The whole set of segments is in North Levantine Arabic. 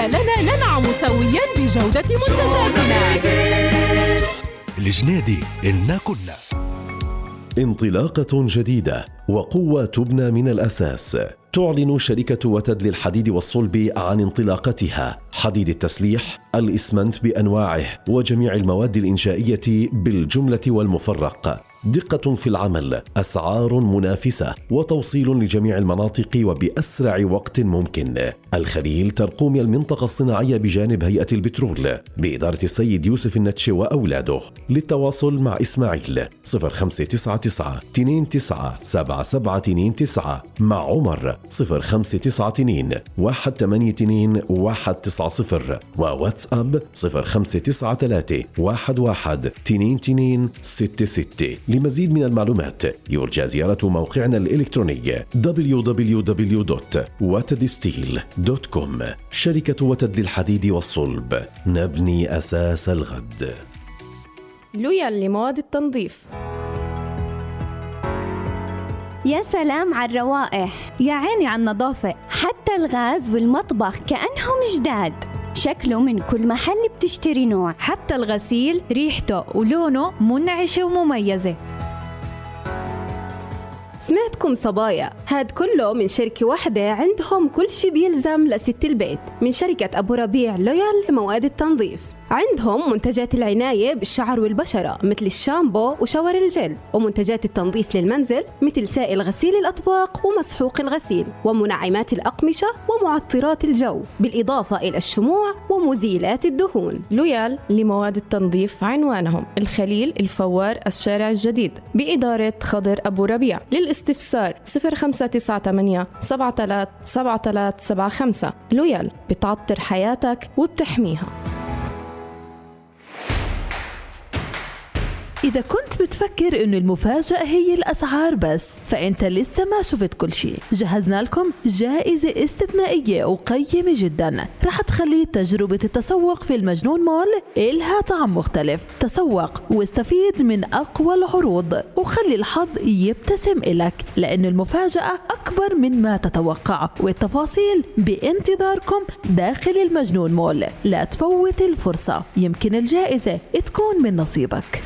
لنا ننعم سويا بجودة منتجاتنا. الجنيدي إلنا كلنا. انطلاقة جديدة وقوة تبنى من الأساس. تعلن شركة وتد للحديد والصلب عن انطلاقتها حديد التسليح، الإسمنت بأنواعه وجميع المواد الإنشائية بالجملة والمفرق. دقة في العمل، أسعار منافسة، وتوصيل لجميع المناطق وبأسرع وقت ممكن. الخليل ترقوم المنطقة الصناعية بجانب هيئة البترول بإدارة السيد يوسف النتشي وأولاده. للتواصل مع إسماعيل 0599 29 7729، مع عمر 0592 182 190، وواتساب 0593 11 22 66. لمزيد من المعلومات يرجى زيارة موقعنا الإلكتروني www.watedsteel.com. شركة وتد للحديد والصلب، نبني أساس الغد. لويال لمواد التنظيف. يا سلام على الروائح، يا عيني على النظافة، حتى الغاز والمطبخ كأنهم جداد. شكله من كل محل بتشتري نوع، حتى الغسيل ريحته ولونه منعشة ومميزة. سمعتكم صبايا، هاد كله من شركة واحدة عندهم كل شي بيلزم لست البيت، من شركة أبو ربيع لويال لمواد التنظيف. عندهم منتجات العناية بالشعر والبشرة مثل الشامبو وشاور الجل، ومنتجات التنظيف للمنزل مثل سائل غسيل الأطباق ومسحوق الغسيل، ومنعمات الأقمشة ومعطرات الجو، بالإضافة إلى الشموع ومزيلات الدهون. لويال لمواد التنظيف عنوانهم الخليل الفوار الشارع الجديد بإدارة خضر أبو ربيع. للاستفسار 0598 737375. لويال بتعطر حياتك وبتحميها. إذا كنت بتفكر إنه المفاجأة هي الأسعار بس، فأنت لسه ما شفت كل شيء. جهزنا لكم جائزة استثنائية وقيمة جدا رح تخلي تجربة التسوق في المجنون مول إلها طعم مختلف. تسوق واستفيد من أقوى العروض وخلي الحظ يبتسم إلك، لأن المفاجأة أكبر من ما تتوقع، والتفاصيل بانتظاركم داخل المجنون مول. لا تفوت الفرصة، يمكن الجائزة تكون من نصيبك.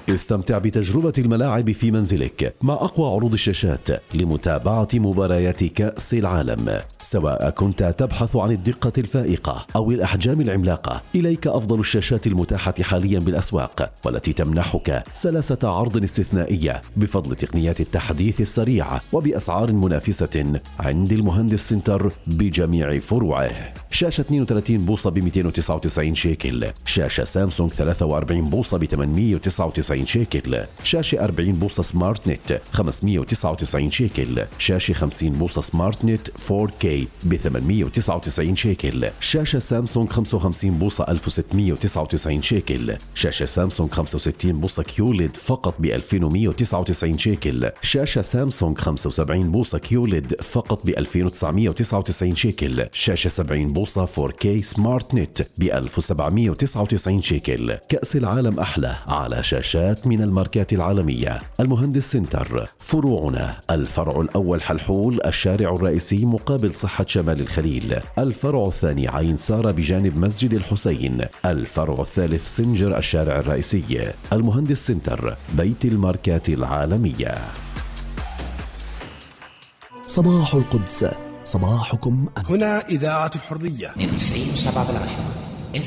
استمتع بتجربة الملاعب في منزلك مع أقوى عروض الشاشات لمتابعة مباريات كأس العالم. سواء كنت تبحث عن الدقة الفائقة أو الأحجام العملاقة، إليك أفضل الشاشات المتاحة حاليا بالأسواق، والتي تمنحك سلاسة عرض استثنائية بفضل تقنيات التحديث السريع وبأسعار منافسة عند المهندس سنتر بجميع فروعه. شاشة 32 بوصة ب 299 شيكل، شاشة سامسونج 43 بوصة ب 899 شيكل، شاشة 40 بوصة سمارت نت 599 شيكل، شاشة 50 بوصة سمارت نت 4K ب 899 شيكل، شاشة سامسونج 55 بوصة 1699 شيكل، شاشة سامسونج 65 بوصة كيوليد فقط ب 2199 شيكل، شاشة سامسونج 75 بوصة كيوليد فقط ب 2999 شيكل، شاشة 70 بوصة 4K سمارت نت ب 1799 شيكل. كأس العالم أحلى على شاشات من الماركات العالمية. المهندس سنتر، فروعنا: الفرع الأول حلحول الشارع الرئيسي مقابل صحة شمال الخليل، الفرع الثاني عين سارة بجانب مسجد الحسين، الفرع الثالث سنجر الشارع الرئيسي. المهندس سنتر، بيت الماركات العالمية. صباح القدس، صباحكم هنا إذاعة الحرية 92.7.